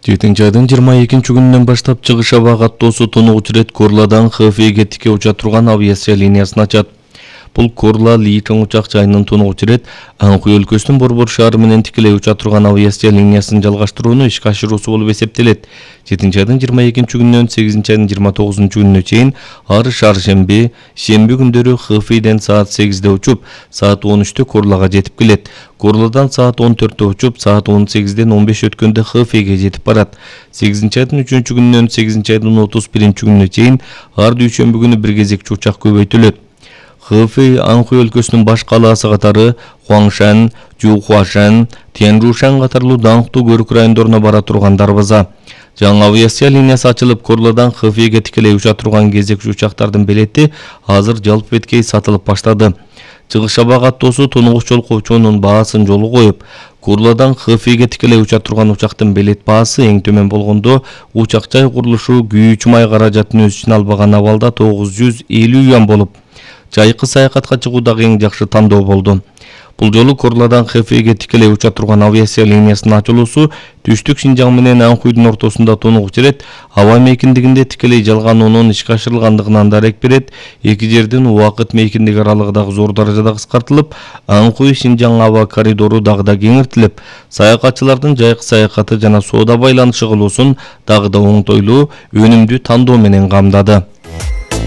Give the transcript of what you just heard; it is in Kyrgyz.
7 айдын 22 күнүнөн баштап чыгыш аба каттоосу тонугуч ирет Корладан Хэфейге тике уча турган авиация линиясын ачат. Бул Корла Личон учак жайынын тонугуч ирет Анхуй өлкөсүнүн Борбор шаары менен тикелей уча турган авиация линиясын жалгаштырууну ишке ашыруусу болуп эсептелет. 7 айдын 22 күнүнөн 8 айдын 29 күнүнө чейин ар шаршемби, шемби күндөрү Хэфейден саат 8-де учуп, саат 13-тө Корлага жетип келет. Корладан саат 14-тө учуп, саат 18-ден 15 өткөндө Хэфейге жетип барат. 8 айдын 3 күнүнөн 8 айдын 31 күнүнө чейин ар дүйшөмбү күнү бир кезекчи учак көбөйтүлөт. Хэфей Анхуй өлкөсүнүн баш калаасы катары Хуаңшан, Жухуашан, Тяньжушан катарлуу даңктуу көрүк райондоруна бара турган дарбаза. Жаңы авиация линиясы ачылып, Корладан Хэфейге тикелей уча турган кезекчи учактардын билети азыр жалпы беткей сатылып баштады. Чыгыш аба каттоосу тонугуч жолкоочунун баасын жолу коюп, Корладан Хэфейге тикелей уча турган учактын билет баасы эң төмөн болгондо учак жай курулушу күйүүчү май каражатын өз ичине албаган абалда 950 юан болуп, жайкы саякатка чыгуу дагы эң жакшы тандоо болду. Бул жолу Корладан Хэфейге тикелей уча турган авиация линиясынын ачылуусу Түштүк Шинжаң менен Анхуйдун ортосунда тонугуч ирет аба мейкиндигинде тикелей жалгануунун ишке ашырылгандыгынан дарек берет. Эки жердин убакыт мейкиндиги аралыгы дагы зор даражада кыскартылып, Анхуй Шинжаң аба коридору дагы да кеңиртилип, саякатчылардын жайкы саякаты жана соода байланышы кылуусун дагы да оңтойлуу, өнүмдүү тандоо менен камдады.